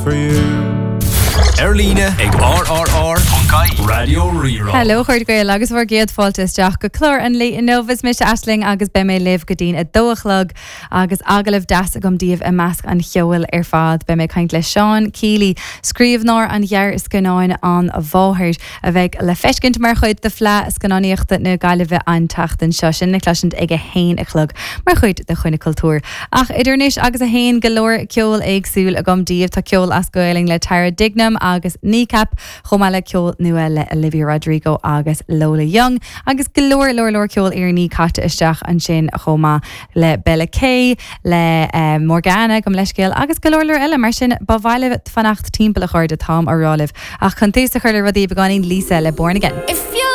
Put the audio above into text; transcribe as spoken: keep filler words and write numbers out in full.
For you. Ar líne ag R R R ponc I E Raidió Rí-Rá. Hello chuid Gael agus bhur gcéad fáilte isteach go clár an lae inniu. Is mise Aisling agus beidh mé libh go dtí'n a dó a chlog agus agallamh deas agam daoibh i measc an cheoil ar fad. Beidh mé ag caint le Seán Keely, scríbhneoir an ghearrscannáin An Mháthair, a bheidh le feiscint mar chuid de Fleadh Scannánaíochta na Gaillimhe an tseachtain seo, sin le cloisint ag a haon a chlog mar chuid de Choinne Cultúir. Ach idir anois agus a haon, go leor ceol éagsúil agam daoibh. Tá ceol as Gaelainn le Tara Dignam agus Kneecap, chomh maith le ceol nua le Olivia Rodrigo agus Lola Young, agus go leor leor leor ceol Éireannach caite isteach ansin chomh maith le Bella K, le um, Morgana gom leiscéal agus go leor leor eile. Mar sin ba mhaith libh fanacht timpeall a chairde, táim á rá libh. Ach chun tús a chur le rudaí beagáinín, Lisa le Born Again. If you